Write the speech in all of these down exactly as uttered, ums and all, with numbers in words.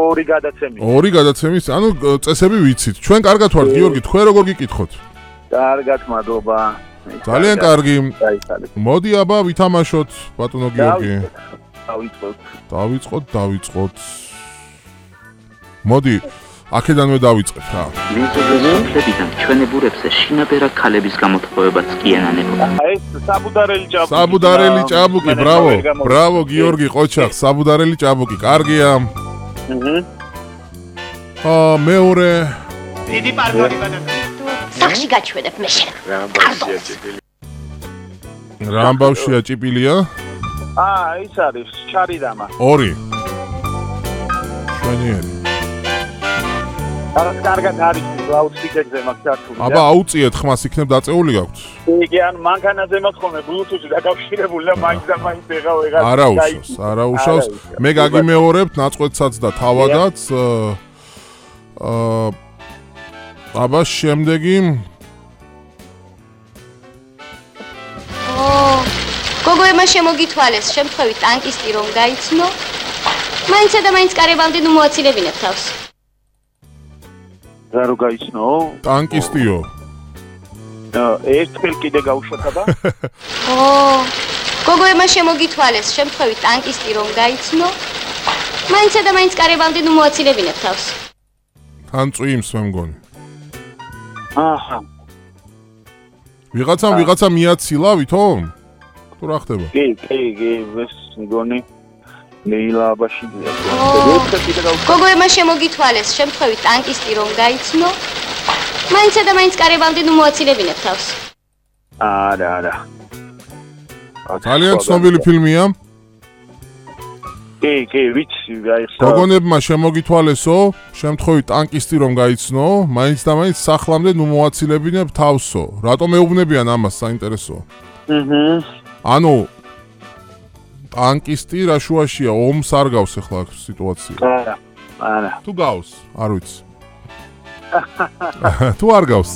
ორი გადაცემის. ორი გადაცემის, ანუ წესები ვიცით. ჩვენ კარგად ვართ, გიორგი, თქვენ როგორ გიკითხოთ? კარგად, მადლობა. ძალიან კარგი. მოდი აბა ვითამაშოთ, ბატონო გიორგი. დავიწყოთ. დავიწყოთ, დავიწყოთ. მოდი, აქედანვე დავიწყებ რა. ლიზოლებიდან ჩვენებურებზე შინაბერა ქალების გამოთხოვებაც კი ენანებოდა. ეს საბუდარელი ჭაბუკი. საბუდარელი ჭაბუკი, ბრავო. ბრავო გიორგი ყოჩახ, საბუდარელი ჭაბუკი. კარგია. აჰა. აა მეორე დიდი პარდონი ბატონო. სახში გაჩვენებ მე შენ. რამბავშია ჭიპილი. რამბავშია ჭიპილია? აა, ის არის ჩარიდამა. ორი. შვენიერი. არა, კარგად არის ლაუდსპიკერზე მაქვს ჩართული. აბა აუწიეთ ხმას იქნებ დაწეული გაქვთ. იგი ან მანქანაზე მაქვს ხოლმე ბლუთუთი დაკავშირებული და მაინც და მაინც ეხა ვეღარ. არა უშავს, არა უშავს. მე გაგიმეორებთ ნაწყვეტსაც და თავადაც. აა აბა შემდეგი გოგოებმა შემოგითვალეს შემთხვევით ტანკისტი რომ გაიცნო მაინცა და მაინც კარებამდე ნუ მოაცილებინებ თავს რა რო გაიცნო ტანკისტიო ერთხელ კიდე გავუშვათ აბა ო გოგოებმა შემოგითვალეს შემთხვევით ტანკისტი რომ გაიცნო მაინცა და მაინც კარებამდე ნუ მოაცილებინებ თავს თან წვიმს მე მგონი აჰა ვიღაცა ვიღაცა მიაცილა ვითომ თუ რა ხდება? კი, კი, კი, ეს მგონი ნეილაბაში გოგოებმა შემოგითვალეს შემთხვევით ტანკისტი რომ გაიცნო მაინცა და მაინც კარებამდე ნუ მოაცილებინებ თავს არა, არა ძალიან ცნობილი ფილმია კი, კი, ვიცი, გაიხსნა გოგონებმა შემოგითვალესო შემთხვევით ტანკისტი რომ გაიცნო მაინც და მაინც სახლამდე ნუ მოაცილებინებ თავსო რატომ ეუბნებიან ამას საინტერესოა აჰა ანუ ტანკისტი რა შუაშია ომს არ გავს ახლა აქ სიტუაცია არა არა თუ გავს არ ვიცი თუ არ გავს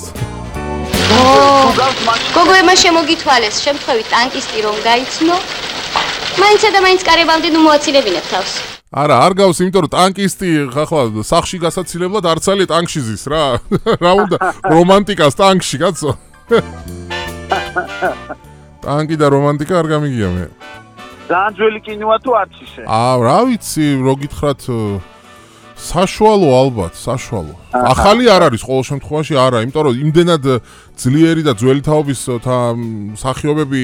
გოგოებმა შემოგითვალეს შემთხვევით ტანკისტი რომ გაიცნო მაინცა და მაინც კარებამდე ნუ მოაცილებინებ თავს არა არ გავს იმიტომ რომ ტანკისტი ახლა სახში გასაცილებლად არცალი ტანკში ზის რა რა უნდა რომანტიკას ტანკში კაცო ტანკი და რომანტიკა არ გამიგია მე. ძალიან ძველი კინოა თუ არც ისე? აა, რა ვიცი, რო გითხრათ საშუალო ალბათ, საშუალო. ახალი არ არის ყოველ შემთხვევაში არა, იმიტომ რომ იმდენად ძლიერი და ძველი თაობის მსახიობები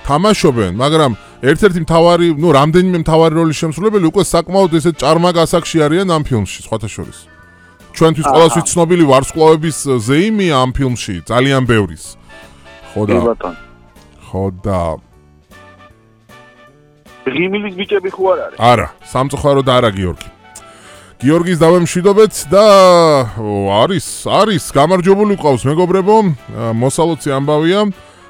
თამაშობენ, მაგრამ ერთ-ერთი მთავარი, ნუ რამდენიმე მთავარი როლის შემსრულებელი უკვე საკმაოდ ესეთ ჭარმა გასაგში არიან ამ ფილმში, სხვათა შორის. ჩვენთვის ყველასთვის ცნობილი ვარსკვლავების ზეიმია ამ ფილმში, ძალიან ბევრის. ხო და ხო და რიმილის ბიჭები ხო არ არის? არა, სამწუხაროდ არა გიორგი. გიორგის დავემშვიდობეთ და არის, არის, გამარჯვებული ყავს მეგობრებო, მოსალოცი ამბავია.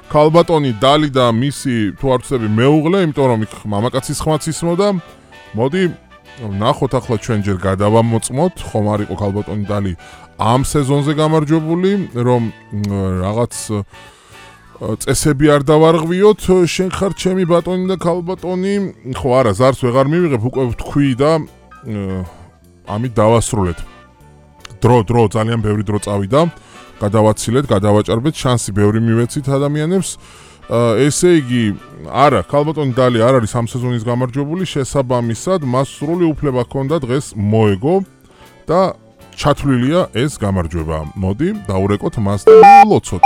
ქალბატონი დალი და მისი თუ არ ვცდები მეუღლე, იმიტომ რომ იქ მამაკაცის ხმაც ისმოდა. მოდი ნახოთ ახლა ჩვენ ჯერ გადავამოწმოთ, ხომ არ იყო ქალბატონი დალი ამ სეზონზე გამარჯვებული, რომ რაღაც წესები არ დავარღვიოთ, შენ ხარ ჩემი ბატონი და ქალბატონი. ხო არა, ზარს ვეღარ მივიღებ, უკვე ვთქვი და ამით დავასრულეთ. დრო, დრო, ძალიან ბევრი დრო წავიდა. გადავაცილეთ, გადავაჭარბეთ, შანსი ბევრი მივეცით ადამიანებს. ესე იგი, არა, ქალბატონი დალი არ არის ამ სეზონის გამარჯვებული, შესაბამისად, მას სრული უფლება ჰქონდა დღეს მოეგო და ჩათვლილია ეს გამარჯვება. მოდი, დაურეკოთ მას და ვლოცოთ.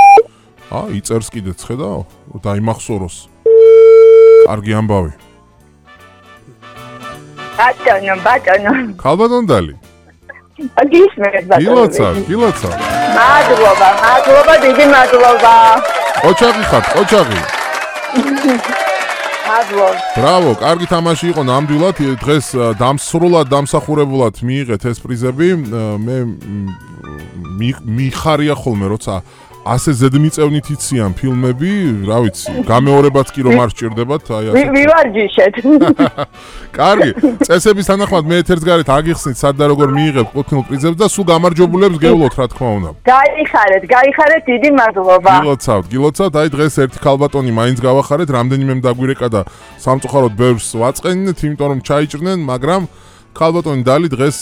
ა, იწერს კიდეც, ხედავ? დაიმახსოვროს. კარგი ამბავი. ბატონო, ბატონო. ქალბატონ დალი. გისმენთ ბატონო. გილოცა, გილოცა. მადლობა, მადლობა, დიდი მადლობა. ოჩაღი ხარ, ოჩაღი. მადლობა. ბრავო, კარგი თამაში იყო ნამდვილად. დღეს დამსრულად, დამსახურებულად მიიღეთ ეს პრიზები. მე მიხარია ხოლმე, როცა ასე ზედმიწევნით იციან ფილმები, რა ვიცი, გამეორებაც კი რომ არ სჭირდებათ, აი ასე. მივარჯიშეთ. კარგი, წესების თანახმად მე ეთერს გარეთ აგიხსნით სად და როგორ მიიღებთ ყუთნილ პრიზებს და სულ გამარჯვებულებს გევლოთ, რა თქმა უნდა. გაიხარეთ, გაიხარეთ, დიდი მადლობა. გილოცავთ, გილოცავთ, აი დღეს ერთი ქალბატონი მაინც გავახარეთ, რამდენიმე დაგვირეკა და სამწუხაროდ ბევრს ვაწყენინეთ, იმიტომ რომ ჩაიჭრნენ, მაგრამ ქალბატონი დალი დღეს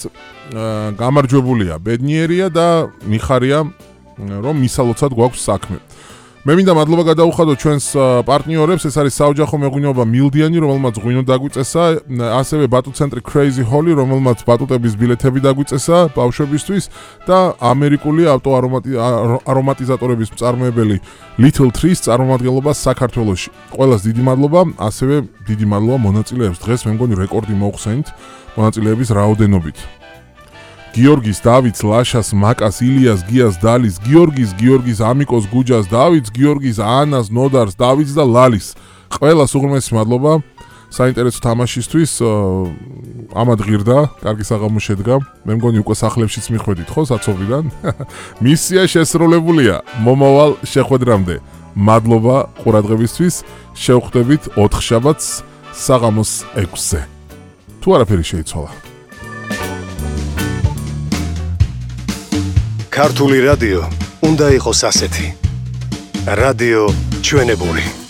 გამარჯვებულია, ბედნიერია და მიხარია რომ მისალოცად გვაქვს საქმე. მე მინდა მადლობა გადაუხადო ჩვენს პარტნიორებს, ეს არის საოჯახო მეღვინეობა მილდიანი, რომელმაც ღვინო დაგვიწესა, ასევე ბატუტ ცენტრი Crazy Holly, რომელმაც ბატუტების ბილეთები დაგვიწესა ბავშვებისთვის და ამერიკული ავტო არომატიზატორების მწარმოებელი Little Trees წარმომადგენლობა საქართველოში. ყველას დიდი მადლობა, ასევე დიდი მადლობა მონაწილეებს. დღეს მე მგონი რეკორდი მოხსენით მონაწილეების რაოდენობით. გიორგის, დავითს, ლაშას, მაკას, ილიას, გიას, დალის, გიორგის, გიორგის, ამიკოს, გუჯას, დავითს, გიორგის, ანას, ნოდარს, დავითს და ლალის. ყველას უღრმესი მადლობა საინტერესო თამაშისთვის. ამად ღირდა, კარგი საღამო შედგა. მე მგონი უკვე სახლებშიც მიხვედით, ხო, საცობრიდან? მისია შესრულებულია. მომავალ შეხვედრამდე. მადლობა ყურადღებისთვის. შევხვდებით ოთხშაბათს საღამოს ექვსზე. თუ არაფერი შეიცვალა. ქართული რადიო უნდა იყოს ასეთი. რადიო ჩვენებური.